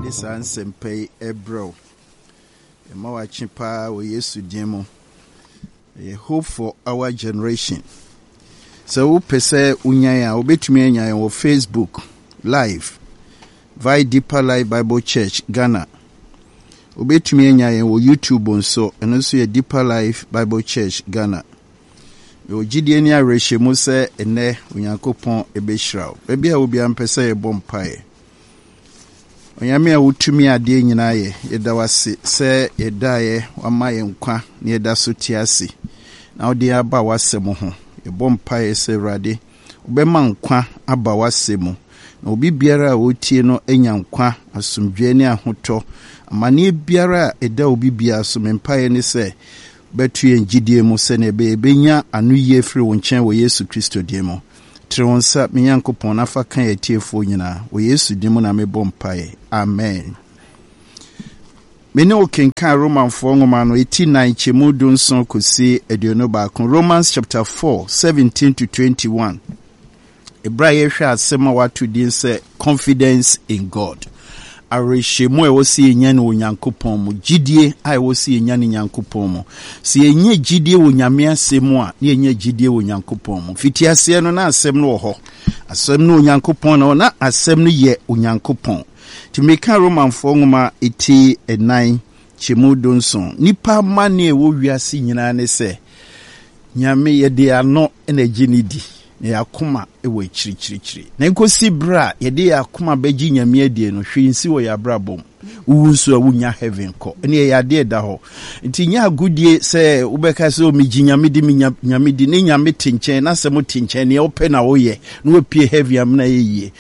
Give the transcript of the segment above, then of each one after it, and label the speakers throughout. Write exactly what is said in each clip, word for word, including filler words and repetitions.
Speaker 1: De saa nsɛmpa yi ɛbrɛ wo. Ɛma wakye paa wɔ Yesu din mu. Ɛyɛ Hope for Our Generation. Sɛ wopɛ sɛ wonya yɛn a, wobɛtumi anya yɛn wɔ Facebook Live via Deeper Life Bible Church Ghana. Wobɛtumi anya yɛn wɔ YouTube nso, ɛno nso yɛ Deeper Life Bible Church Ghana. Mewɔ gyidie ne awerɛhyɛmu sɛ ɛnnɛ Onyankopɔn ɛbɛhyira wo. Baabi a obiara mpɛ sɛ yɛbɔ mpaeɛ. Onyame a wotumi adeɛ nyinaa yɛ, yɛda wo ase sɛ yɛdaeɛ wama yɛn nkwa na yɛda so te ase na wode aba w'asɛm ho. Yɛbɔ mpaeɛ sɛ Awurade wobɛma nkwa aba w'asɛm mu na obi biara a ɔretie no anya nkwa, asomdwoeɛ ne ahotɔ. Amanneɛ biara a ɛda obi biara so, me mpaeɛ ne sɛ bɛto yɛn gyidie mu sɛnea ɛbɛyɛ yɛbɛnya ano yie firi wo nkyɛn wɔ Yesu Kristo din mu. Tere wo nsa, me Nyankopɔn, na fa ka yɛn atiefoɔ nyinaa. Wɔ Yesu din mu na mebɔ mpaeɛ. Amen. Me ne wo kenkan Romanfoɔ nwoma no, eti nan kyɛmu du nson kɔsi aduonu baako. Romans chapter four, seventeen to twenty-one. Ebere a yɛhwɛ asɛm a wato din sɛ "Confidence in God". Awerɛhyɛmu a ɛwɔ sɛ yɛnya no wɔ Nyankopɔn mu, gyidie a ɛwɔ sɛ yɛnya no Nyankopɔn mu. Sɛ yɛnya gyidie wɔ Nyame asɛm mu a, na yɛnya gyidie wɔ Nyankopɔn mu. Fiti aseɛ no, na asɛm no wɔ hɔ. Asɛm no Onyankopɔn na na asɛm no yɛ Onyankopɔn. Nti meka Romanfoɔ nwoma eti ɛnan kyɛmu du nson. Nipa amanneɛ a ɛwɔ wiase nyinaa ne sɛ Nyame yɛde ano na agye ne di na yɛn akoma wɔ akyirikyirikyiri. Na nkosi berɛ a yɛde yɛn akoma bɛgye Nyame adie no, hwee nsi wɔ yɛn abrabɔ mu. Wowu nso a, wonya heaven kɔ. Ɛne ɛyɛ adeɛ da hɔ. Nti nyɛ agodie sɛ wobɛka sɛ, "Megye Nyame di, menya Nyame di," ne Nyame te nkyɛn na asɛm te nkyɛn, neɛ wopɛ na woyɛ na wapue heaven amena yɛ yie.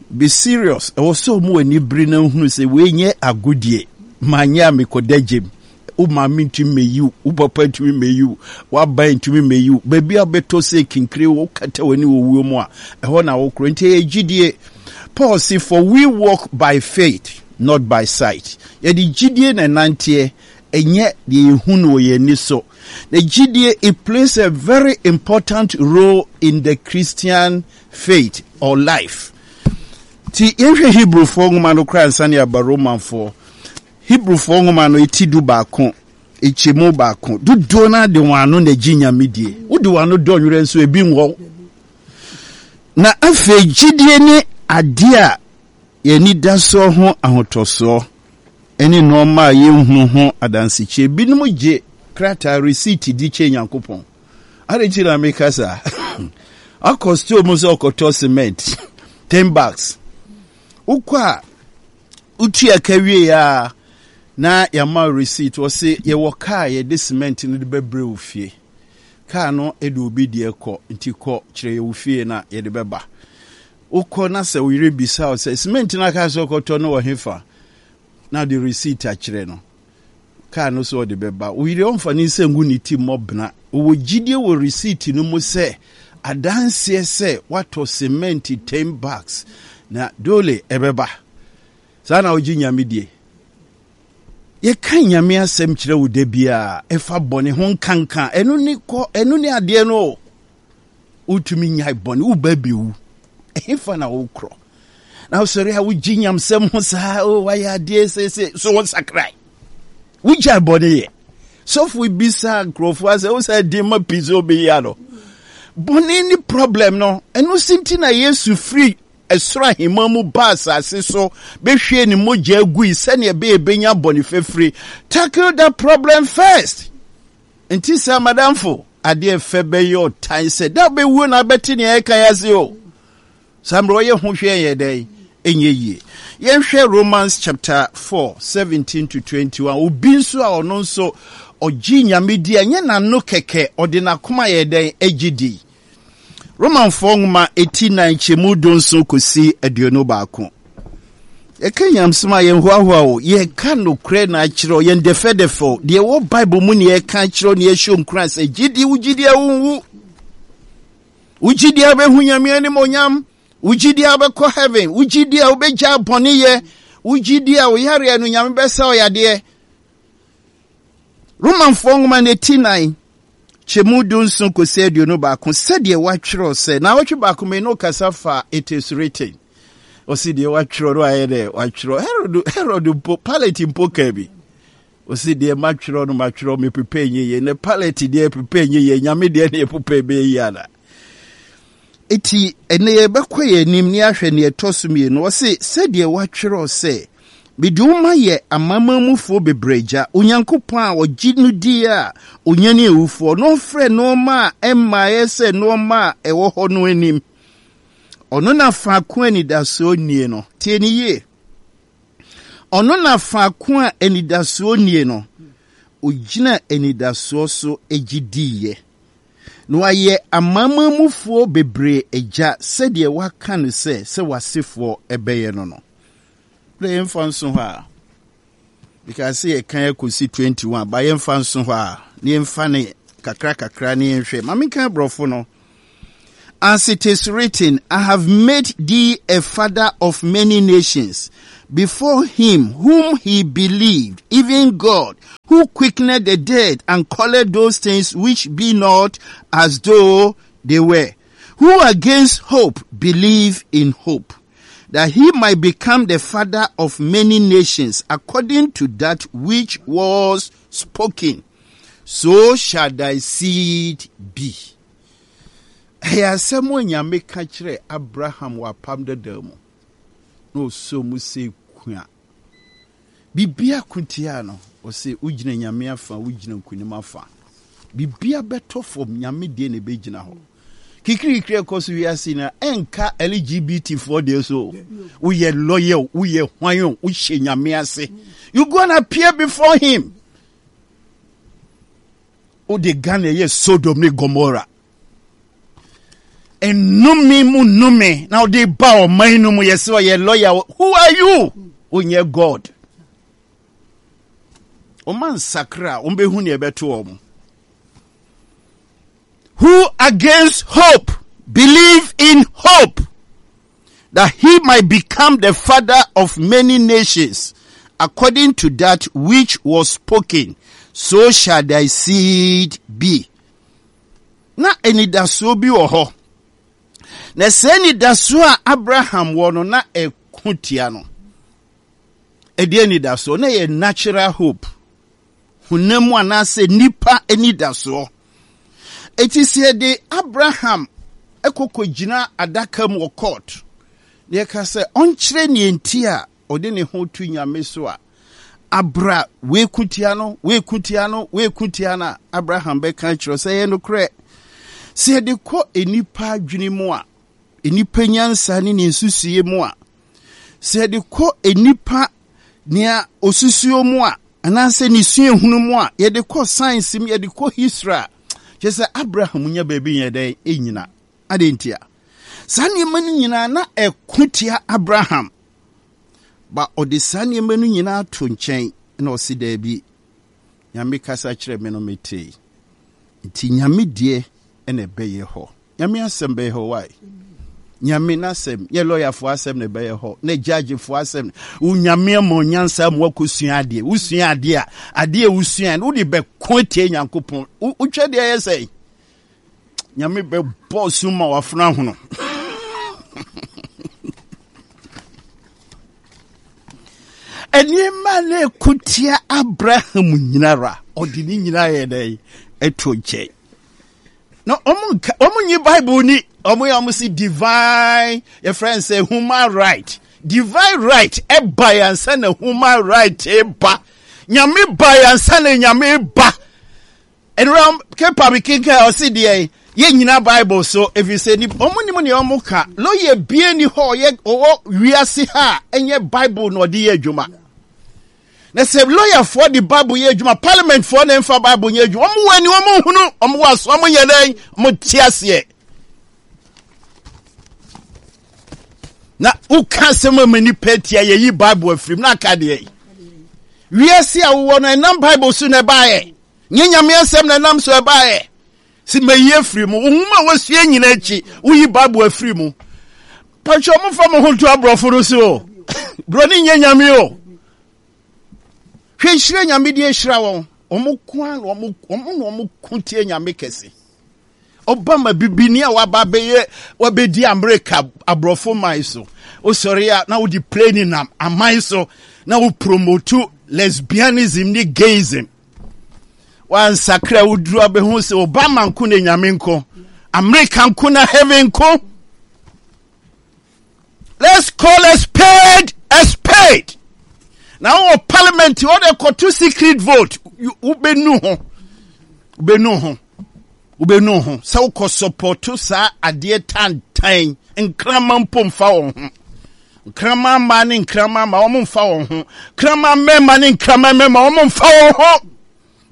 Speaker 1: Be serious. Ɛwɔ sɛ ɔmo ani bere na nhunu sɛ wei nyɛ agodie. Manyɛ a, mekɔda gyem. Wo maame ntumi mmɛyi wo, wo papa ntumi mmɛyi wo, w'aban ntumi mmɛyi wo. Baabi a wobɛtɔ sɛ kinkire, wokata w'ani wɔ wuo mu a, ɛhɔ na wokorɔ. Nti ɛyɛ gyidie. Paul se, "For we walk by faith, not by sight." Yɛde gyidie na ɛnanteɛ, ɛnyɛ deɛ yɛhu no wɔ yɛn ani so. Na gyidie, it plays a very important role in the Christian faith or life. Nti yɛnhwɛ Hebrewfoɔ nwoma no koraa ansa ne aba Romanfoɔ. Hebrewfoɔ nwoma no eti du baako ekyɛmu baako. Dodoɔ no de wɔn ano na gye Nyame die. Wode wɔn ano dɔ nwerɛ nso ebi nwɔ. Na afei gyidie ne adeɛ a yɛni da soɔ ho ahotɔsoɔ ne nneɛma a yɛnhunu ho adansekyie. Binom gye krataa receipt di kyɛ Nyankopɔn. Ade nti na meka saa? Akɔ store mu sɛ ɔkɔtɔ cement ten bags. Wokɔ a, wotua ka wie a, na yɛama receipt. Wɔse yɛwɔ kaa yɛde cement no de bɛbrɛ wo fie. Kaa no de obi deɛ kɔ, nti kɔ kyerɛ yɛ wo fie na yɛde bɛba. Wokɔ na sɛ wo yere bisa wo sɛ cement no aka sɛ ɔkɔtɔ no wɔ hefa, na de receipt akyerɛ no, kaa no so ɔde bɛba. Wo yere ɔmfa ne nsa ngu ne ti mmɔ bena. Ɔwɔ gyidie wɔ receipt no mu sɛ adanseɛ sɛ woatɔ cement ten bags na dole ɛbɛba. Saa na wogye Nyame die? Yɛka Nyame asɛm kyerɛ wo da biara ɛfa bɔne ho nkanka. Ɛno ne kɔ, ɛno ne adeɛ no o. Wotumi nyae bɔne, woba bɛwu, ɛhefa na wokorɔ? Na wosɔre a, wogye nyamsɛm ho saa o, wayɛ adeɛ seese so, wɔnsakrae, wogyae bɔne yɛ. Sɔfo bisa nkurɔfoɔ asɛ wo sɛ den ma pii sɛ wobɛyi ano. Bɔne ne problem no. Ɛno si nti na Yesu firi ɛsoro ahemman mu ba asase so bɛhwie ne mogya agui sɛnea ɛbɛyɛ bɛnya bɔne fafiri. Tackle the problem first. Nti sɛ madamfo, adeɛ fɛ bɛyɛ ɔtan sɛ da bɛwuo na abɛte nea ɛka yɛ ase o. Saa mmerɛ ɔyɛ ho hwɛ yɛ dɛn ɛnyɛ yie. Yɛnhwɛ Romans chapter four, seventeen to twenty-one. Obi nso a ɔno nso ɔgye Nyame di a, ɛnyɛ n'ano kɛkɛ, ɔde n'akoma yɛ dɛn agye di. Romanfoɔ nwoma eti nan kyɛmu du nson kɔsi aduonu baako. Yɛka nyamsɛm a, yɛnhoahoa o. Yɛka nokorɛ na akyerɛ yɛn dɛfɛdɛfɛ deɛ ɛwɔ Bible mu ne yɛka akyerɛ ne yɛhyɛ nkuran sɛ gyidi, wo gyidi a wonwu, wo gyidi a wobɛhu Nyame animonyam, wo gyidi a wobɛkɔ heaven, wo gyidi a wobɛgya bɔneyɛ, wo gyidi a woyareɛ no Nyame bɛsa wo yadeɛ. Romanfoɔ nwoma no eti nan kyɛmu du nson kɔsi aduonu baako, sɛdeɛ wɔatwerɛ sɛ na awɔtwe baako mmienu kasa fa "It is written". Ɔsi deɛ watwerɛ no ayɛ dɛ watwerɛ. Herod Herod mpo, Pilate mpo kaa bi. Ɔsi deɛ matwerɛ no matwerɛ, mepepɛ nyɛ yie. Ne Pilate deɛ pepɛ nyɛ yie, Nyame deɛ ne yɛpepɛ bɛyɛ yie ana? Eti ɛnɛ yɛbɛkɔ yɛn anim ne ahwɛ neɛ ɛtɔ so mmienu. Ɔse sɛdeɛ watwerɛ sɛ, mede wo ma yɛ amanamanmufoɔ bebree agya, Onyankopɔn a ɔgye no die a onyane awufoɔ na ɔfrɛ nneɛma a ɛmmaeɛ sɛ nneɛma a ɛwɔ hɔ no anim. Ɔno na faako a anidasoɔ nnie no. Tie ne yie. Ɔno na faako a anidasoɔ nnie no, ogyina anidasoɔ so gye diiɛ. Na wayɛ amanamanmufoɔ bebree agya sɛdeɛ waka no sɛ sɛ w'asefoɔ ɛbɛyɛ no no. Berɛ yɛmfa nso hɔ a, because sɛ yɛkan akɔsi twenty-one, ba yɛmfa nso hɔ a, na yɛmfa ne kakra kakra ne yɛnhwɛ. Ma menka aborɔfo no. As it is written, I have made thee a father of many nations, before him whom he believed, even God, who quickened the dead and called those things which be not as though they were, who against hope believe in hope, that he might become the father of many nations, according to that which was spoken. So shall thy seed be. Ɛyɛ asɛm a Nyame ka kyerɛ Abraham wɔ apam dada mu. Na ɔsɔ mu sɛ kua. Bibia ko tia no, ɔsɛ wogyina Nyame afa, wogyina nkonim afa. Bibia bɛtɔ fam, Nyame deɛ na ɛbɛgyina hɔ. Kikirikiri ɛkɔ so wiase na ɛnka L G B T foɔ deɛ so. Woyɛ lawyer, woyɛ hwan o, wohyɛ Nyame ase. You gonna appear before him. Wode Ghana yɛ Sodom ne Gomorrah. Nnome mu nnome na wode ba ɔman no mu yɛ sɛ ɔyɛ lawyer. Who are you? Wonyɛ God. Ɔma nsakra a wɔbɛhu nea ɛbɛto wɔn. Who against hope believe in hope, that he might become the father of many nations, according to that which was spoken, so shall thy seed be. Na anidasoɔ bi wɔ hɔ. Na sɛ anidasoɔ a Abraham wɔ no na ɛko tia no. Ɛdeɛ anidasoɔ na ɛyɛ natural hope. Honam mu anaasɛ nipa anidasoɔ. Eti sɛ yɛde Abraham ɛkɔkɔ gyina adaka mu wɔ court, na yɛka sɛ ɔnkyerɛ nea nti a ɔde ne ho to Nyame so a, abra wei ko tia no, wei ko tia no, wei ko tia no a, Abraham bɛka akyerɛ sɛ ɛyɛ nokorɛ. Sɛ yɛde kɔ nnipa adwene mu a, nnipa nyansa ne ne nsusuiɛ mu a, sɛ yɛde kɔ nnipa nea osusuo mu a, anaasɛ ne suahunu mu a, yɛde kɔ science mu, yɛde kɔ history a, kyerɛ sɛ Abraham nya baabi nyɛ dɛn ɛnyina. Adɛn ntia? Saa nneɛma no nyinaa na ɛko tia Abraham. Ba ɔde saa nneɛma no nyinaa to nkyɛn na ɔse daabi, Nyame kasa kyerɛ me no metee. Nti Nyame deɛ ɛna ɛbɛyɛ hɔ. Nyame asɛm bɛyɛ hɔ, why? Nyame n'asɛm, nyɛ lɔyafoɔ asɛm na ɛbɛyɛ hɔ, na judgefoɔ asɛm. Wo Nyame ama onyansa ma wakɔsua adeɛ. Wosua adeɛ a, adeɛ a wosua no, wode bɛko atia Nyankopɔn. Wotwa deɛ ɛyɛ sɛn? Nyame bɛbɔ sum ma wafena hono. Nneɛma na ɛko tia Abraham nyinara, ɔde ne nyinaa yɛ dɛn? Ɛto nkyɛn. Na ɔmo nka, ɔmo nyi Bible ni, ɔmo yɛ ɔmo si divine, yɛfrɛ no sɛ human right. Divine right ɛba yɛn ansa na human right ɛba. Nyame ba yɛn ansa na Nyame ba. Ɛnura kepa mi kenkan ɔsi deɛ yɛn nyina Bible so efi sɛ ni ɔmo nim nea ɔmo ka. Lawyer bie ni hɔ ɔyɛ ɔwɔ wiase ha a ɛnyɛ Bible na ɔde yɛ adwuma. Na sɛ lɔyafoɔ de Bible yɛ adwuma, parliamentfoɔ na ɛmfa Bible nyɛ adwuma. Ɔmo wɔ ani, ɔmo nhunu, ɔmo wɔ aso, ɔmo nyɛ dɛn, ɔmo te aseɛ. Na woka asɛm ama nipa atia, yɛyi Bible afirim na aka deɛ. Wiase a wowɔ no, ɛnam Bible so na ɛbaeɛ. Nyɛ Nyame asɛm na ɛnam so ɛbaeɛ. Si mayi afiri mu. Wo nwoma a wasua nyina akyi, woyi Bible afiri mu. Patwa ɔmo fa mo ho to aborɔfo no so o. Buroni nyɛ Nyame o. Hwɛ nhyira Nyame de ahyira wɔn. Ɔmo ko ara na ɔmo ɔmo na ɔmo ko tie Nyame kɛse. Obama bibini a waba bɛyɛ wabɛdi Amerika aborɔfo man so. Wosɔre a na wode plane nam aman so na wo promote lesbianism ne gayism. Wansakra woduru abɛhu sɛ Obama nko na Nyame nko, America nko na heaven nko. Let's call a spade a spade. Na wɔ parliament wɔde kɔto secret vote, wobɛnu ho, wobɛnu ho, wobɛnu ho sɛ wokɔ support saa adeɛ tantan. Nkrama mpo mfa wɔn ho, nkrama mmaa ne nkrama mmaa wɔn mfa wɔn ho, nkrama mmarima ne nkrama mmarima wɔn mfa wɔn ho.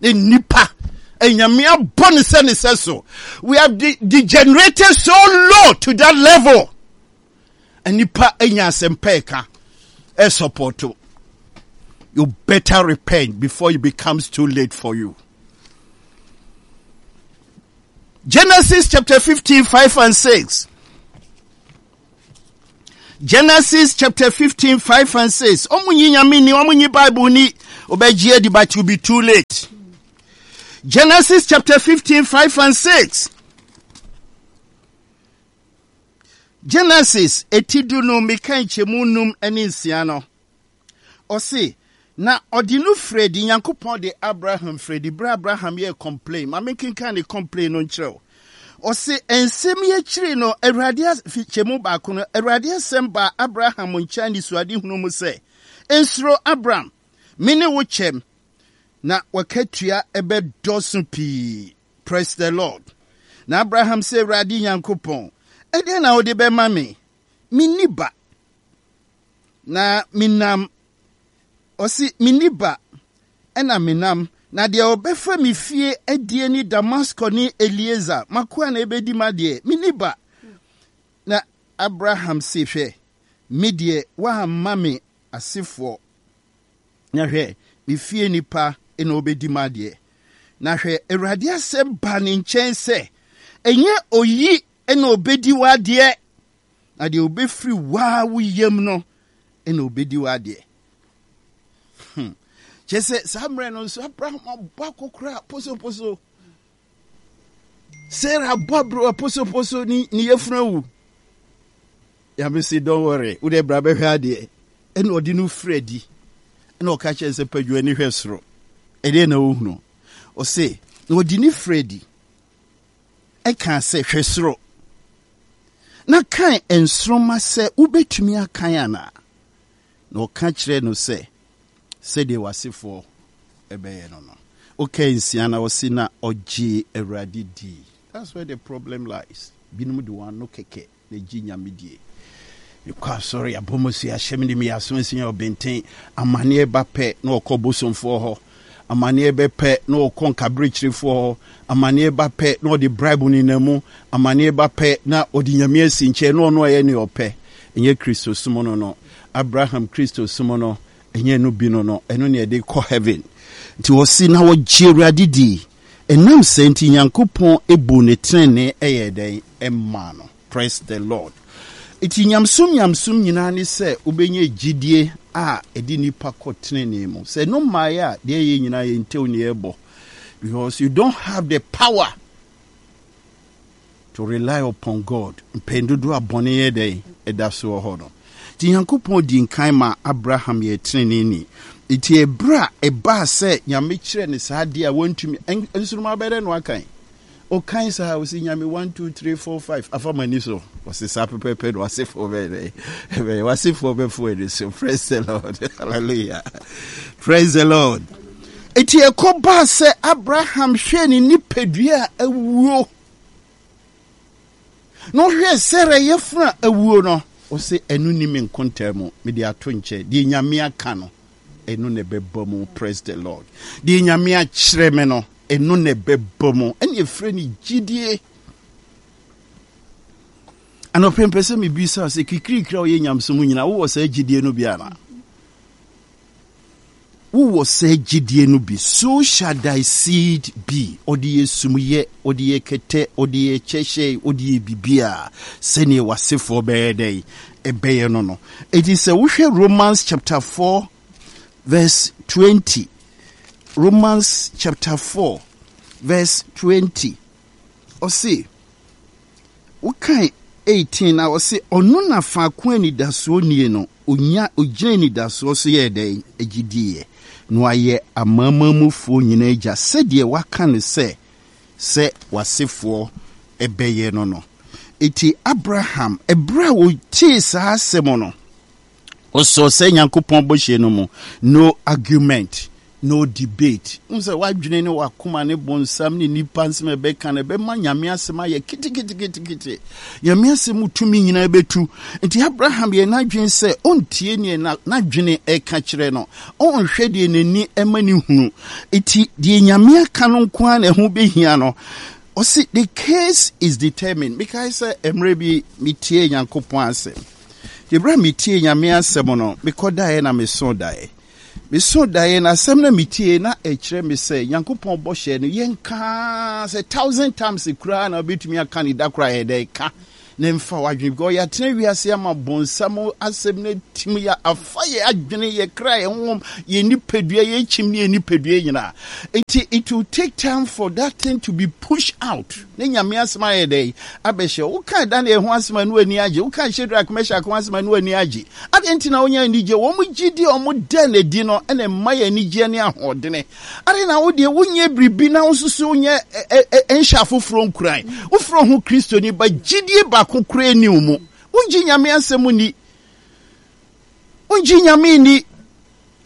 Speaker 1: Ne nipa Enyame abɔ ne sɛ ne sɛ so. We have de degenerated so low to that level. Nipa anya asɛmpa ɛka ɛsupporto. You better repent before it becomes too late for you. Genesis chapter fifteen, five and six. Genesis chapter fifteen, five and six. Ɔmo nyi Nyame ni, ɔmo nyi Bible ni. Ɔbɛgye adi, but it will be too late. Genesis chapter fifteen, five and six. Genesis eti du no meka nkyɛmu num ne nsia no. Ɔse, na ɔde no firi adi, Nyankopɔn de Abraham firi adi, berɛ Abraham yɛ complain. Ma menkenkan ne complain no nkyerɛ wo. Ɔse, nsɛm yi akyiri no, Awurade kyɛmu baako no, Awurade asɛm baa Abraham nkyɛn anisoadehunu mu sɛ, Nsuro, Abram, me ne wo kyɛm, na w'akatua bɛdɔɔso pii. Praise the Lord. Na Abraham sɛ, Awurade Nyankopɔn, ɛdeɛn na wode bɛma me? Menni ba. Na menam, ɔse, menni ba, ɛna menam, na deɛ ɔbɛfa me fie adie ne Damasko ne Elieser, m'akoa na ɛbɛdi m'adeɛ, menni ba. Na Abraham se, hwɛ, me deɛ woamma me asefoɔ, na hwɛ, me fie nipa na ɔbɛdi m'adeɛ. Na hwɛ, Awurade asɛm baa ne nkyɛn sɛ, ɛnyɛ oyi na ɔbɛdi w'adeɛ, na deɛ ɔbɛfiri waa wo yam no na ɔbɛdi w'adeɛ. Hmm. Kyerɛ sɛ saa mmerɛ no nso Abraham abɔ akɔkora posoposo, Sarah abɔ aberewa posoposo, ne ne yafunu awu. Nyame se, don't worry, wode bra bɛhwɛ adeɛ. Ɛna ɔde no firi adi, ɛna ɔka kyerɛ sɛ, padwa ani hwɛ soro, ɛdeɛ na wohunu? Ɔse, na ɔde ne firi adi ɛka sɛ, hwɛ soro na kan nsoromma sɛ wobɛtumi akan anaa. Na ɔka kyerɛ no sɛ, sɛdeɛ w'asefoɔ ɛbɛyɛ no no. Woka nsia na ɔse, na ɔgyee Awurade dii. That's where the problem lies. Binom de wɔn ano kɛkɛ na gye Nyame die. Mekɔ asɔre, abɔ mo so ahyɛ me de meyɛ aso asia ɔbɛnten. Amanneɛ ba pɛ na ɔkɔ bosomfoɔ hɔ. Amanneɛ bɛpɛ na ɔkɔ nkaberekyerefoɔ hɔ. Amanneɛ ba pɛ na ɔde bribe nenam mu. Amanneɛ ba pɛ na ɔde Nyame asi nkyɛn na ɔno ɛyɛ nea ɔpɛ. Ɛnyɛ Kristo som no no. Abraham Kristo som no, ɛnyɛ no bi no no. Ɛno ne ɛde kɔ heaven. Nti ɔsi na ɔgye Awurade di. Ɛnam sɛ nti Nyankopɔn ebu ne tenenee ɛyɛ dɛn ɛmaa no. Praise the Lord. Nti nyamsom nyamsom nyinaa ne sɛ wobɛnya gyidie a ɛde nipa kɔ tenenee mu. Sɛ no mmaeɛ a, deɛ ɛyɛ nyinaa yɛ ntew ne ɛbɔ. Because you don't have the power to rely upon God. Mpɛn dodoɔ a bɔne yɛ dɛn ɛda so wɔ hɔ no. Nti Nyankopɔn di nkan ma Abraham yɛ teneneeni. Nti ɛberɛ a ɛbaa sɛ Nyame kyerɛ ne saa adeɛ a wantumi, nsoromma bɛdɛ no akan. Ɔkan saa, ɔsi Nyame one, two, three, four, five, afa m'ani so. Ɔsi saa pɛpɛpɛ na w'asefoɔ bɛyɛ dɛ. Ɛbɛyɛ w'asefoɔ bɛfo ani so. Praise the Lord. Hallelujah. Praise the Lord. Eti ɛkɔ baa sɛ Abraham hwɛɛ ne nipadua a awuo. Na ɔhwɛɛ Sarah yafunu a awuo no, ɔsɛ ɛno ni me nkontaa mu, mede ato nkyɛn. Deɛ Nyame aka no, ɛno na ɛbɛba mu. Praise the Lord. Deɛ Nyame akyerɛ me no, ɛno na ɛbɛba mu. Ɛne ɛfrɛ no gyidie. Anɔpɛ mpɛ sɛ mebisa sɛ kikirikiri a ɔyɛ nyamesom nyinaa, wowɔ saa gyidie no bi anaa? Wowɔ saa gyidie no bi? So shall thy seed be. Ɔde yɛ sumyɛ, ɔde yɛ kɛtɛ, ɔde yɛ kyɛhyɛ, ɔde yɛ biribiara sɛdeɛ w'asefoɔ bɛyɛ dɛn ɛbɛyɛ no no. Eti sɛ wohwɛ Romans chapter four verse twenty, Romans chapter four verse twenty, ɔse wokan eighteen na ɔse ɔno na faako anidasoɔ nie no, onya ogyina anidasoɔ so yɛ dɛn? Agyidiiɛ na wayɛ amanamanmufoɔ nyinaa agya, sɛdeɛ waka no sɛ sɛ w'asefoɔ ɛbɛyɛ no no Eti Abraham, ɛberɛ a wɔtee saa asɛm no, ɔsɔɔ sɛ Nyankopɔn bɔhyɛ no mu. No argument, no debate. N sɛ wadwene ne wakoma ne bonsam ne nipa nsɛm ɛbɛka no ɛbɛma Nyame asɛm ayɛ keteketekete. Nyame asɛm tumi nyinaa bɛtu. Nti Abraham yɛ n'adwene sɛ ɔntie neɛ n'adwene ɛka kyerɛ no, ɔnhwɛ deɛ n'ani ɛma ne hunu. Nti deɛ Nyame aka no nko ara na ɛho bɛhia no. Ɔsi the case is determined. Mekae sɛ mmerɛ bi metie Nyankopɔn asɛm. Deɛ a metie Nyame asɛm no, mekɔdaeɛ na meso daeɛ. Meso daeɛ na asɛm na metie na ɛkyerɛ me sɛ Nyankopɔn bɔhyɛ no, yɛnkaa sɛ thousand times koraa na wobɛtumi aka ne da koraa, yɛ dɛ ka na mfa w'adwene, because yɛatena wiase ama bonsam asɛm no atim yɛ afa yɛ adwene, yɛ kra, yɛ honhom, yɛ nipadua, yɛ kyim ne yɛ nipadua nyinaa. Nti it will take time for that thing to be pushed out ne Nyame asɛm ayɛ dɛ abɛhyɛ. Woka Daniel ho asɛm a, no ani agye. Woka Shadrach, Meshach ho asɛm a, no ani agye. Ade nti na wonya anigye? Wɔn gyidi a wɔn dɛ n'adi no ɛna mma yɛ anigyeɛ ne ahoɔdene. Ade na wo deɛ wonyɛ biribi na wo nso so wonyɛ nhyɛ afoforɔ nkuran. Wofrɛ ho Kristoni ba, gyidie baako koraa ni wo mu. Wongye Nyame asɛm ni, wongye Nyame ni.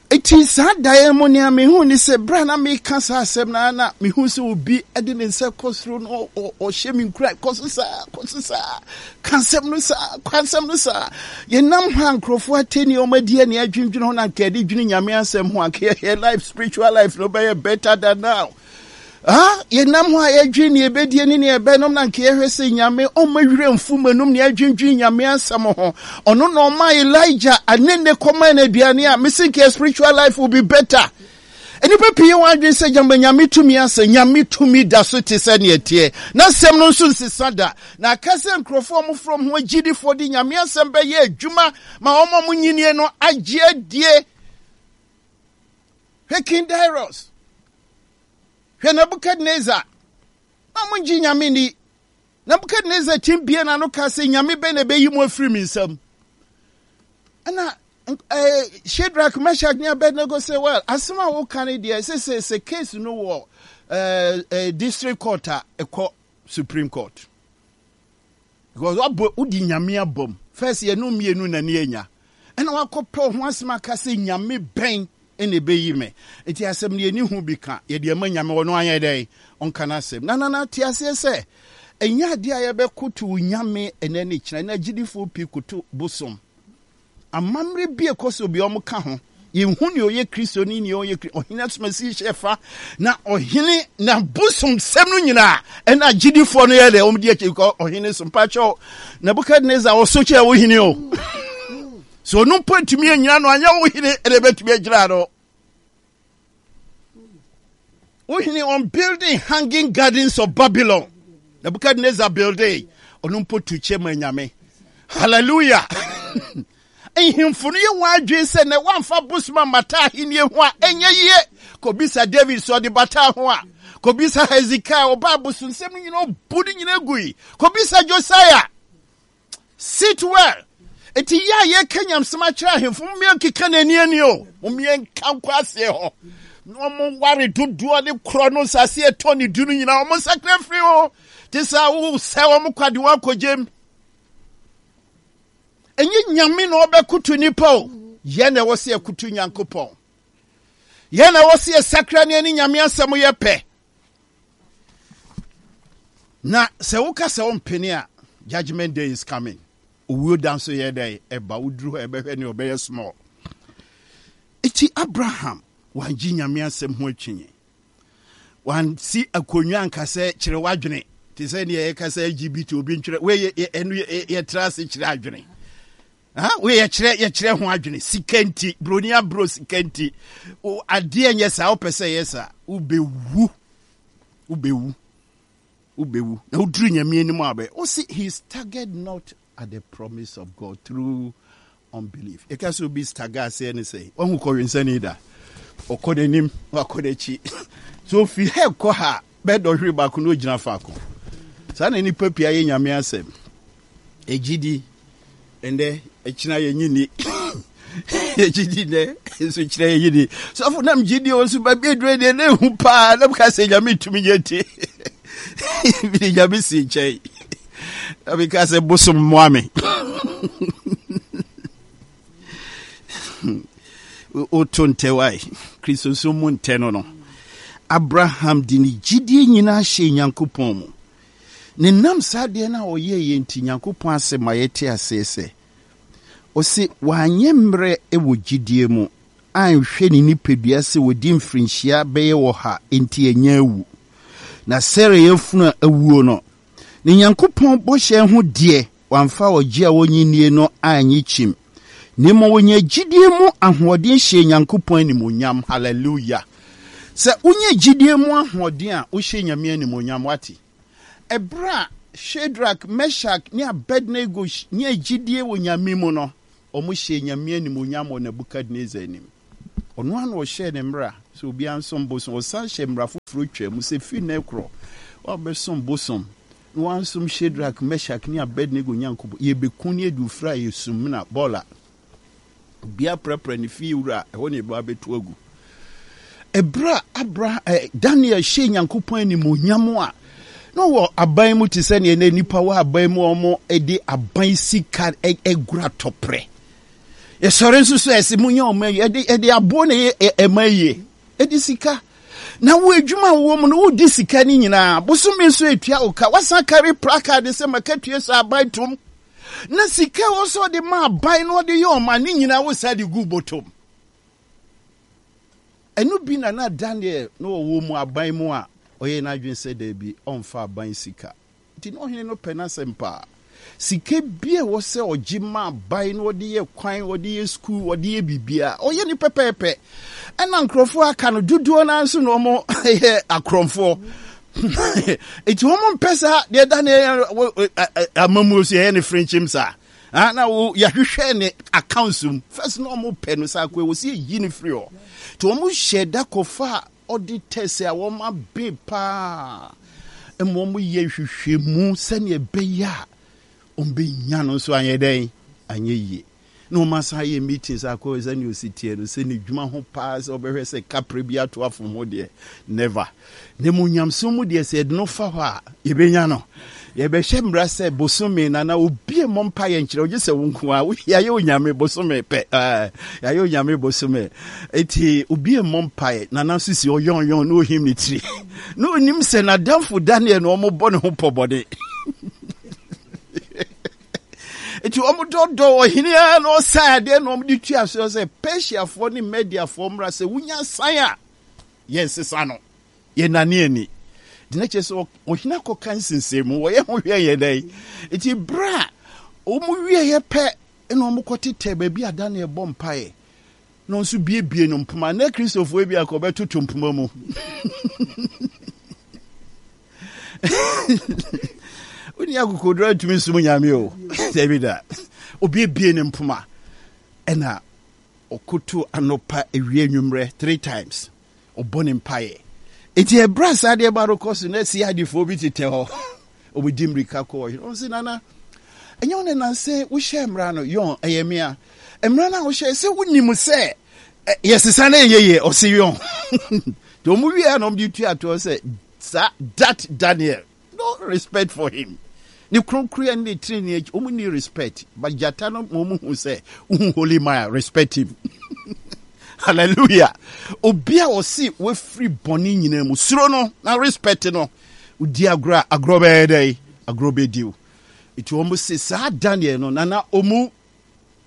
Speaker 1: Eti saa daeɛ mu, nea mehu ne sɛ berɛ a na meka saa asɛm no, na mehu sɛ obi de ne nsa kɔ soro no, ɔhyɛ me nkura, kɔ so saa, kɔ so saa, ka asɛm no saa, ka asɛm no saa. Yɛnam hɔ a, nkurɔfoɔ atɛni wɔn adi ani adwendwene ho na nka yɛde dwene Nyame asɛm ho anka yɛ life, spiritual life no bɛyɛ better than now. Ah, yɛnam hɔ a, yɛdwene ne yɛbɛdie ne ne yɛbɛnom na nka yɛhwɛ sɛ Nyame ɔma werɛ mfu m'anum ne yɛadwendwene Nyame asɛm ho. Ɔno na ɔma Elijah anene kɔma no aduane a mese nka spiritual life will be better. Nnipa pii wɔn adwene sɛ gyama Nyame tumi asɛ. Nyame tumi da so te sɛ neɛ teɛ na asɛm no nso nsesa da. Na aka sɛ nkurɔfoɔ a wɔfrɛ ho agyidifoɔ de Nyame asɛm bɛyɛ adwuma ma wɔn a wɔnyinie no agye adie. Hwɛ King Darius, hwɛ Nebukadnezar, na ɔmo ngye Nyame ni. Nebukadnezar tim bie n'ano ka sɛ, "Nyame bɛn na ɛbɛyi mu afiri mi nsam?" Ɛna eh, Shadrach, Meshach ne Abednego sɛ, "Well, asɛm a woka no deɛ, sɛ sɛ sɛ case no wɔ eh, eh, district court a, ɛkɔ Supreme Court, because wabɔ wodi Nyame abom first. Yɛno mmienu na ne anya ɛna wakɔpɛ ho asɛm aka sɛ Nyame bɛn ɛna ɛbɛyi me. Nti asɛm no yɛni ho bi ka, yɛde ama Nyame, ɔno ayɛ dɛn ɔnka no asɛm. Na nana te aseɛ sɛ ɛnyɛ adeɛ a yɛbɛkoto Nyame ɛnɛ ne kyerɛ na agyidifoɔ pii koto bosom. Amammerɛ bi ɛkɔ so bi ɔmo ka ho, yɛnhu nea ɔyɛ Kristo ne nea ɔyɛ ɔhene asomasi hyɛ fa na ɔhene na bosom sɛm no nyinaa ɛna agyidifoɔ no yɛ dɛ ɔmo di akyi kɔ ɔhene so. Mpakyɛw, Nebukadnezar ɔso kyɛ wo hene o, so ɔno mpo ntumi anyina no, anyɛ wo hene ɛna ɛbɛtumi agyina no. Wo hene on building hanging gardens of Babylon, Nebuchadnezzar building, ɔno mpo tu kyɛ ma Nyame. Hallelujah! Nhemfo no yɛ wɔn adwene sɛ na wɔamfa bosom ammata ahenni ho a, ɛnyɛ yie. Kɔbisa David sɛ ɔde bata ho a. Kɔbisa Hezekiah, ɔba abosonsɛm no nyinaa ɔbu no nyinaa gui. Kɔbisa Josiah. Sit well. Eti yɛ a yɛka nyamsɛm akyerɛ ahemfo, mommea nkeka n'ani ani o, mommea nka nkɔ aseɛ hɔ na ɔmo ware dodoɔ ne korɔ no nsase ɛtɔ ne du no nyinaa, ɔmo nsakra firi ho te sɛ wosɛ wɔn kwade wɔn akɔgyem. Ɛnyɛ Nyame na ɔbɛkoto nipa o, yɛn na ɛwɔ sɛ yɛkoto Nyankopɔn. Yɛn na ɛwɔ sɛ yɛsakra ne ɛne Nyame asɛm yɛ pɛ. Na sɛ woka sɛ wompene a, judgment day is coming. Owuo da nso yɛ dɛ ɛba. Woduru hɔ, ɛbɛhwɛ ne ɔbɛyɛ small. Eti Abraham wangye Nyame asɛm ho atwinye, wansi akonnwa anka sɛ kyerɛ w'adwene te sɛ nea yɛka sɛ L G B T, obi ntwerɛ wei, ɛno yɛtra ase kyerɛ adwene. Wei yɛkyerɛ yɛkyerɛ ho adwene. Sika nti, buroni aburo sika nti, adeɛ nyɛ saa. Wopɛ sɛ ɛyɛ saa, wobɛwu, wobɛwu, wobɛwu. Na woduru Nyame anim a, bɛ wosi he staggered not at the promise of God through unbelief. Yɛka sɛ obi stagger aseɛ ne sɛ wahu kɔwensani da, ɔkɔ n'anim, wakɔ n'akyi, so ofi ha kɔ ha bɛɛ dɔhwere baako na ogyina faako. Saa na nipa pii ayɛ Nyame asɛm. Ɛgyidi ɛndɛ ɛkyina yɛnyi ni. Yɛgyidi nɛ nso kyerɛ yɛnyi ni. Sɔfo nam gyidi o nso baabi aduro deɛ na ehu paa na meka sɛ Nyame tumi nyɛ nti mede Nyame si nkyɛn na meka sɛ bosom mmoa me. Woto ntɛ wae Kristosom mu ntɛ no no. Abraham de ne gyidie nyinaa hyɛ Nyankopɔn mu. Ne nam saa adeɛ no a ɔyɛeɛ nti, Nyankopɔn asɛm ma yɛte aseɛ sɛ, ɔse wanyɛ mmerɛ wɔ gyidie mu, anhwɛ ne nipadua sɛ wadi mfirinhyia bɛyɛ ɔha nti anya awu. Na Sara yafunu a awuo no, ne Nyankopɔn bɔhyɛ ho deɛ, wamfa ɔgye a ɔnnye nnie no annye kyim, na mmom ɔnyaa gyidie mu ahoɔden hyɛɛ Nyankopɔn animuonyam. Hallelujah! Sɛ wonya gyidie mu ahoɔden a, wohyɛ Nyame animuonyam, wate? Ɛberɛ a Shadrach, Meshach ne Abednego nyaa gyidie wɔ Nyame mu no, wɔhyɛɛ Nyame animuonyam wɔ Nebuchadnezzar anim. Ɔno ara na ɔhyɛɛ ne mmara sɛ obiara nsom bosom. Ɔsan hyɛɛ mmara foforɔ twaa mu sɛ firi nnɛ rekorɔ, woabɛsom bosom na woansom Shadrach, Meshach ne Abednego Nyankopɔn, yɛbɛku ne adu firi a yɛ sumina, bɔɔla. Obiara prapra ne fie wura a, ɛhɔ na yɛbɛba abɛto agu. Ɛberɛ a Abraham, eh, Daniel hyɛɛ Nyankopɔn animuonyam a, na ɔwɔ aban mu te sɛ neɛ na nnipa wɔ aban mu a wɔde aban sika gura tɔprɛ. Yɛsɔre nso so ɛsɛ mu nyɛ ɔma yi, ɛde ɛde aboɔ na ɛyɛ ɛma yie, ɛde sika. Na wo adwuma a wowɔ mu no, wodi sika no nyinaa. Bosome nso etua wo ka. Wasan kari placard sɛ makatua sɛ aban tom. Na sika ɛwɔ sɛ ɔde ma aban na ɔde yɛ ɔma ne nyinaa wo saa de gu bɔtɔm. Ɛno bi na na Daniel na ɔwɔ mu aban mu a ɔyɛ n'adwene sɛ daabi ɔmfa aban sika. Nti na ɔhene no pɛ n'asɛm paa. Sika bi a ɛwɔ sɛ ɔgye ma aban na ɔde yɛ kwan, ɔde yɛ sukuu, ɔde yɛ biribiara, ɔyɛ no pɛpɛɛpɛ. Ɛna nkurɔfoɔ a aka no dodoɔ no ara nso na wɔn yɛ akorɔmfoɔ. Nti wɔn mpɛ saa deɛ Daniel amamuo so yɛyɛ ne frenkyim saa. Ah, na wo yɛahwehwɛ ne accounts mu. First na wɔn pɛ no saa kɔ ɛwɔ sɛ yɛyi no firi hɔ. Nti wɔn hyɛ da kɔfa auditors a wɔn abe paa ma wɔn yɛ nhwehwɛmu sɛnea ɛbɛyɛ a wɔn bɛnya no nso anyɛ dɛn anyɛ yie. Na wɔn asan ayɛ meetings akɔ sɛnea osi teɛ no sɛ ne dwuma ho paa sɛ ɔbɛhwɛ sɛ kapre bi ato afom ho deɛ never. Na mu nyamesom mu deɛ sɛ yɛde no fa hɔ a yɛbɛnya no. Yɛbɛhyɛ mmara sɛ bosome na na obi mmɔ mpa yɛ nkyerɛ ogye sɛ wo nko a yɛayɛ onyame bosome pɛ yɛayɛ onyame bosome eti obi mmɔ mpa yɛ na na nso si ɔyɔnyɔn na ohim ne tiri na onim sɛ n'adamfo Daniel na wɔn bɔ ne ho pɔbɔne. Eti wɔn dɔdɔ ɔhene ara na ɔsan adeɛ na wɔn de tua so sɛ Persiafoɔ ne Mediafoɔ mmra sɛ wonya san a yɛnsesa no yɛnane ani. Nti na kyerɛ sɛ ɔhene akɔka nsensɛn mu wɔyɛ ho hwɛ yɛ dɛn. Eti berɛ a wɔn wieɛ pɛ na wɔn kɔtetɛ baabi a Daniel bɔ mpaeɛ na ɔnso biebie no mpoma. Na Kristofoɔ bi akɔ bɛtoto mpoma mu. Wonni akokoduro antumi nsom Nyame o. Dabi da. Obiebie ne mpoma ɛna ɔkoto anɔpa awia anwummerɛ three times. Ɔbɔ ne mpaeɛ. Enti ɛberɛ a saa adeɛ ba no kɔ so na si adefoɔ bi tetɛ hɔ. Wɔdi mmirika kɔ ɔhene. Wɔn sɛ nana, ɛnyɛ wo na nansɛ wohyɛ mmara no yɔn ɛyɛ mea. Mmara no a wohyɛ sɛ wonim sɛ yɛsesa na ɛyɛ yie ɔse yɔn. Nti wɔn wie a na wɔn de tua toɔ sɛ saa that Daniel no respect for him. Ne kronkroyɛ ne ne tirinwi akyi wɔn ni respect but gyata no ma wɔn hu sɛ wohu holy man respect him. Hallelujah. Obi a ɔse wafiri bɔne nyinaa mu suro no na respect no. Wodi agorɔ a agorɔ bɛyɛ dɛ agorɔ bɛdi wo. Nti wɔn se saa Daniel no nana ɔmu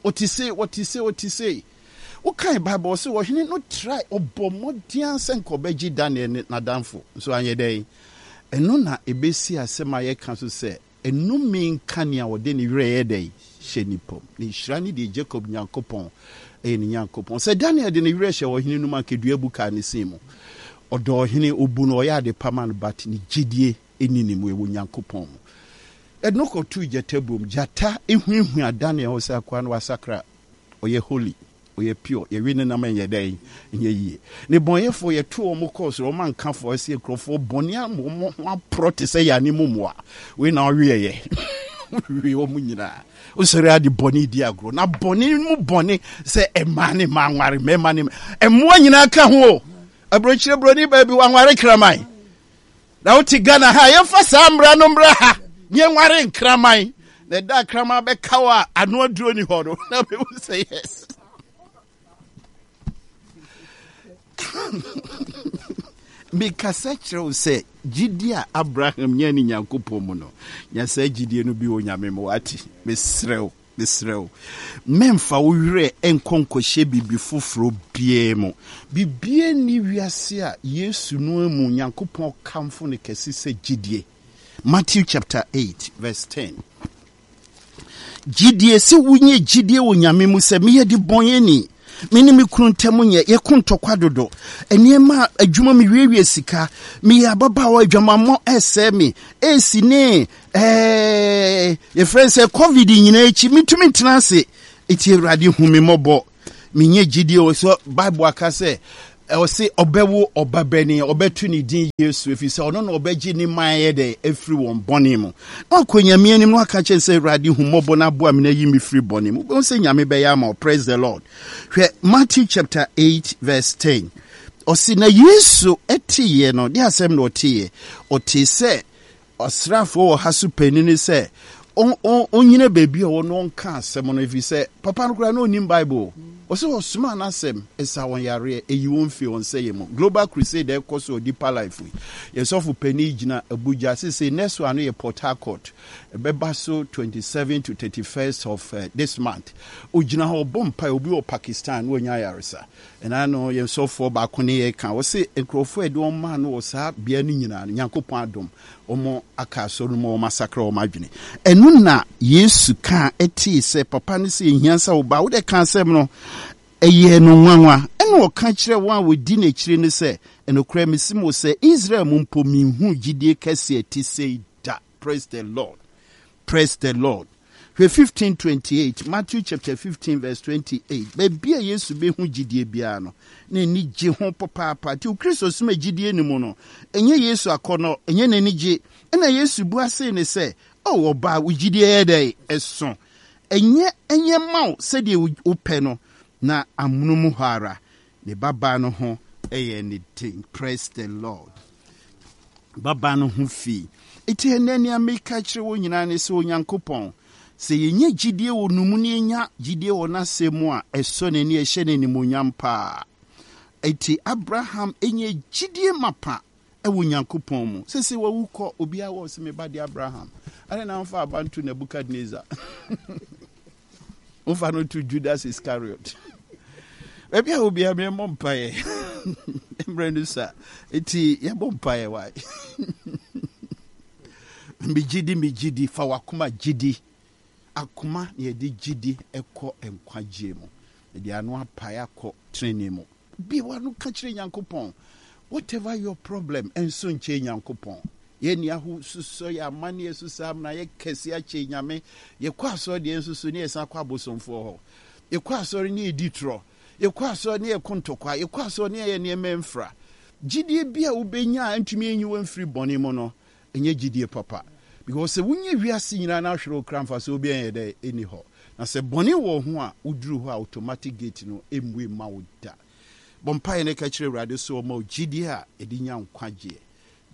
Speaker 1: ɔte sei ɔte sei ɔte sei. Wokan Bible ɔse ɔhene no try ɔbɔ mmɔden sɛ nka ɔbɛgye Daniel ne n'adamfo nso anyɛ dɛn. Ɛno na ɛbɛsi asɛm a yɛka so sɛ nnome nka nea ɔde ne werɛ yɛ dɛn hyɛ nipa mu. Na nhyira ne deɛ Jacob Nyankopɔn ɛyɛ ne Nyankopɔn. Sɛ Daniel de ne werɛ hyɛ ɔhene no mu anka dua bu kaa ne sin mu. Ɔdɔ ɔhene, ɔbu no, ɔyɛ ade pa ma no but ne gyedie nni ne mu, ɛwɔ Nyankopɔn mu. Ɛde no kɔtoo gyata buom. Gyata huahua Daniel ho sɛ akoa no wasakra, ɔyɛ holy, ɔyɛ pure, yɛwe ne nam ɛnyɛ dɛn, ɛnyɛ yie. Ne bɔnyɛfoɔ yɛto wɔn kɔɔ soro, wɔn anka fɔ ɛsɛ nkurɔfoɔ bɔne ama wɔn ho aporɔ te sɛ yane mu mmoa. Wei na ɔweɛyɛ. Wowe wɔn nyinaa. Wosɔre ade bɔne di agorɔ. Na bɔne mu bɔne sɛ mmaa ne mmaa nware, mmarima ne mmoa nyinaa ka ho o. Aburokyire buroni baabi wanware kraman. Na wote Ghana ha, yɛmfa saa mmara no mmra ha. Ne yɛnware nkraman. Na ɛda kraman bɛka wo a ano aduro ni hɔ no. Na bɛhu sɛ yes. Mekasa kyerɛ wo sɛ gyidie a Abraham nyaa ne Nyankopɔn mu no, nya saa gyidie no bi wɔ Nyame mu, wate? Mesrɛ wo, mesrɛ wo, mɛmfa wo werɛ nkɔ nkɔhyɛ biribi foforɔ biara mu. Biribiara nni wiase a Yesu no mu Nyankopɔn kamfo no kɛse sɛ gyidie. Matthew chapter eight verse ten. Gyidie, sɛ wonya gyidie wɔ Nyame mu sɛ meyɛ de bɔnyɛni, me ne me kunu ntam nyɛ, yɛko ntɔkwa dodo, nneɛma adwuma me wiewie sika, meyɛ ababaawa adwamammɔ ɛsɛe me, esi ne ɛɛ yɛfrɛ sɛ covid nyinaa akyi metumi ntena ase, eti Awurade hu me mmɔbɔ. Menyɛ gyidie wɔ sɛ Bible aka sɛ ɔse ɔbɛwo ɔbabanin, ɔbɛto ne din Yesu, ɛfiri sɛ ɔno na ɔbɛgye ne man yɛ dɛ afiri wɔn bɔne mu. Na wakɔ Nyame anim na waka kyerɛ sɛ Awurade hu mmɔbɔ na aboa me na yi me firi bɔne mu. Wobɛhu sɛ Nyame bɛyɛ ama wo. Praise the Lord. Hwɛ Matthew chapter eight verse ten. Ɔse na Yesu ɛteeɛ no, de asɛm na ɔteeɛ. Ɔtee sɛ Ɔsraafoɔ ɔha so panin no sɛ ɔnnyina baabi a ɔwɔ na ɔnka asɛm no, ɛfiri sɛ papa no koraa na ɔnnim Bible. Ɔsɛ ɔsomaa n'asɛm, ɛsa wɔn yareɛ, ɛyi wɔn firi wɔn sɛeɛ mu. Global Crusade a ɛkɔ so wɔ Deeper Life yi, yɛn sɔfo panin gyina Abuja. Seesei next one no yɛ Port Harcourt. Ɛbɛba so twenty seven to thirty first of eh, this month. Ɔgyina hɔ ɔbɔ mpae, obi wɔ Pakistan na wanya ayaresa. Ɛna no yɛn sɔfoɔ baako ne yɛn ka, ɔse nkurɔfoɔ a yɛde wɔn maa no wɔ saa bea no nyinaa no, Nyankopɔn adom, wɔn aka asɔre no mu, wɔn asakra wɔn adwene. Ɛno na Yesu kaa ɛtee sɛ papa no sɛ ɛhia sɛ wo ba, wode ka asɛm no, ɛyɛɛ no nwanwa. Ɛna ɔka kyerɛɛ wɔn a wɔdi n'akyiri no sɛ, Ɛnokorɛ mese mo sɛ, Israel mu mpo menhuu gyidie kɛseɛ a ɛte sei da. Praise the Lord. Praise the Lord. Hwɛ fifteen twenty eight, Matthew chapter fifteen verse twenty eight. Baabi a Yesu bɛhu gyidie biara no, n'ani gye ho papaapa. Nti Kristo som a gyidie ni mu no, ɛnyɛ Yesu akɔnnɔ, ɛnyɛ n'ani gye. Ɛna Yesu bua see ne sɛ, O ɔbaa, wo gyidie yɛ dɛn? Ɛso. Ɛnyɛ ɛnyɛ mma wo sɛdeɛ wopɛ no. Na amono mu hɔ ara, ne babaa no ho yɛɛ ne den. Praise the Lord. Babaa no ho fii. Enti ɛnnɛ nea meka kyerɛ wo nyinaa ne sɛ Onyankopɔn, sɛ yɛnya gyidie wɔ no mu na yɛnya gyidie wɔ n'asɛm mu a, ɛsɔ n'ani, ɛhyɛ no animuonyam paa. Enti Abraham nya gyidie mapa wɔ Onyankopɔn mu. Sese wawu kɔ, obiara wɔ sɛ me ba de Abraham. Adɛn na womfa aba nto Nebukadnezar? Womfa no to Judas Iscariot. Baabi a obiara memmɔ mpaeɛ. Mmerɛ no sa. Enti yɛbɔ mpaeɛ wae. Megye di, megye di, fa w'akoma gye di. Akoma na yɛde gye di kɔ nkwagyeɛ mu. Yɛde ano apae akɔ tenenee mu. Bue w'ano ka kyerɛ Nyankopɔn. Whatever your problem, ɛnso nkyɛn Nyankopɔn. Yɛn ni ahosusɔ, yɛ amanneɛ so saa amena yɛ kɛse akyɛ Nyame. Yɛkɔ asɔre deɛ nso so ne yɛsan kɔ abosomfoɔ hɔ. Yɛkɔ asɔre ne yɛdi torɔ. Yɛkɔ asɔre ne yɛko ntɔkwa. Yɛkɔ asɔre ne yɛyɛ nneɛma mfra. Gyidie bi a wobɛnya a ɛntumi nyi wo mfiri bɔne mu no, ɛnyɛ gyidie papa. Because sɛ wonya wiase nyinaa na ahwere wo kra mfasoɔ biara nyɛ dɛ ɛnni hɔ. Na sɛ bɔne wɔ wo ho a, woduru hɔ a automatic gate no mmue mma wo da. Bɔ mpaeɛ na ka kyerɛ Awurade sɛ ɔmma wo gyidie a yɛde nya nkwagyeɛ,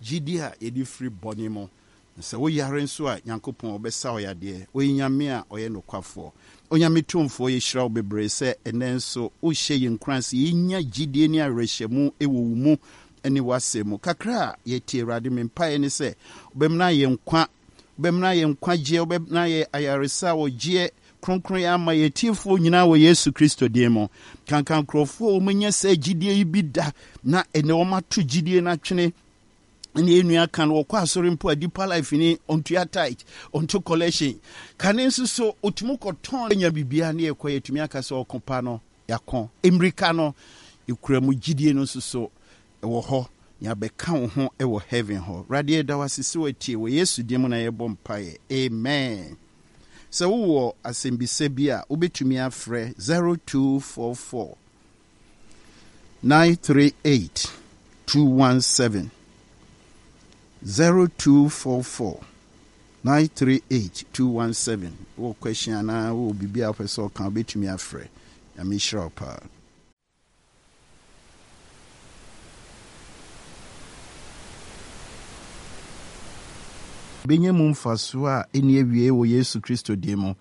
Speaker 1: gyidie a yɛde firi bɔne mu. Na sɛ woyare nso a, Nyankopɔn ɔbɛsa wo yadeɛ. Ɔyɛ Nyame a ɔyɛ nokwafoɔ. Onyame Tumfoɔ, yɛhyira wo bebree sɛ ɛnnɛ nso wohyɛ yɛn nkuran sɛ yɛnya gyidie ne awerɛhyɛmu wɔ wo mu ne w'asɛm mu. Kakra a yɛte Awurade, me mpaeɛ ne sɛ wobɛmena yɛn nkwa, wobɛmena yɛn nkwagyeɛ, wobɛmena yɛn ayaresa, ɔgyeɛ, kronkronyɛ ama yɛn atiefoɔ nyinaa wɔ Yesu Kristo din mu. Kanka nkurɔfoɔ a wɔanya saa gyidie yi bi da na ɛnɛ wɔato gyidie no atwene ne yɛn nua ka no wɔkɔ asɔre mpo a Deeper Life ni ɔntua tithe, ɔnto collection. Kane nso so ɔtumi kɔtɔn nya biribiara ne yɛkɔ yɛtumi aka sɛ ɔko pa no yɛako. Mmirika no yɛkura mu gyidie no nso so ɛwɔ hɔ na yɛabɛka wo ho wɔ heaven hɔ. Awurade yɛda wo ase sɛ woatie wɔ Yesu din mu na yɛbɔ mpaeɛ. Amen. Sɛ wowɔ asɛmbisa bi a wobɛtumi afrɛ zero two four four nine three eight two one seven zero two four four nine three eight two one seven. Wowɔ question anaa wowɔ biribi a wopɛ sɛ ɔka, wobɛtumi afrɛ. Nyame nhyira wo paa. Bɛnya mu mfasoɔ a ɛnni awiei wɔ Yesu Kristo din mu.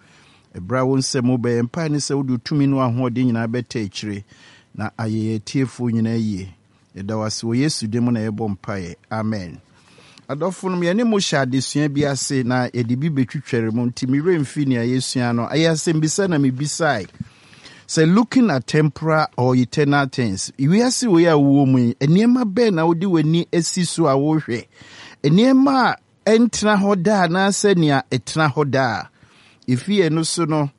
Speaker 1: Ɛberɛ a wo nsɛm mu bɛyɛ mpae ne sɛ wode tumi ne ahoɔden nyinaa bɛtɛ akyire na ayɛ yɛn atiefoɔ nyinaa yie. Yɛda wo ase wɔ Yesu din mu na yɛbɔ mpaeɛ. Amen. Adɔfo nom, yɛne mo hyɛ adesua bi ase na yɛde bi bɛtwitware mu, nti me werɛ mfi nea yɛsua no. Ɛyɛ asɛmbisa na mebisae sɛ, looking at temporal or eternal things, wiase wei a wowɔ mu yi, nneɛma bɛn na wode w'ani asi so a wohwɛ? Nneɛma a ɛntena hɔ daa anaasɛ nea ɛtena hɔ daa? Ɛfi ɛno so no,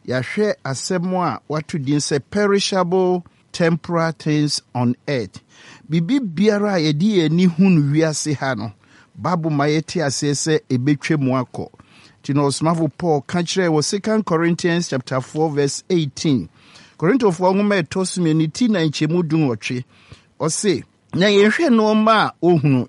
Speaker 1: yɛahwɛ asɛm a wato din sɛ perishable temporal things on earth. Biribi biara a yɛde yɛn ani hu no wiase ha no, Bible ma yɛte aseɛ sɛ ɛbɛtwa mu akɔ. Nti na ɔsomafo Paul ka kyerɛɛ wɔ Second Corinthians chapter four verse eighteen. Korintofoɔ nwoma ɛtɔ so mmienu ti na nkyɛmu du nwɔtwe. Ɔse, na yɛnhwɛ nneɛma a ohunu,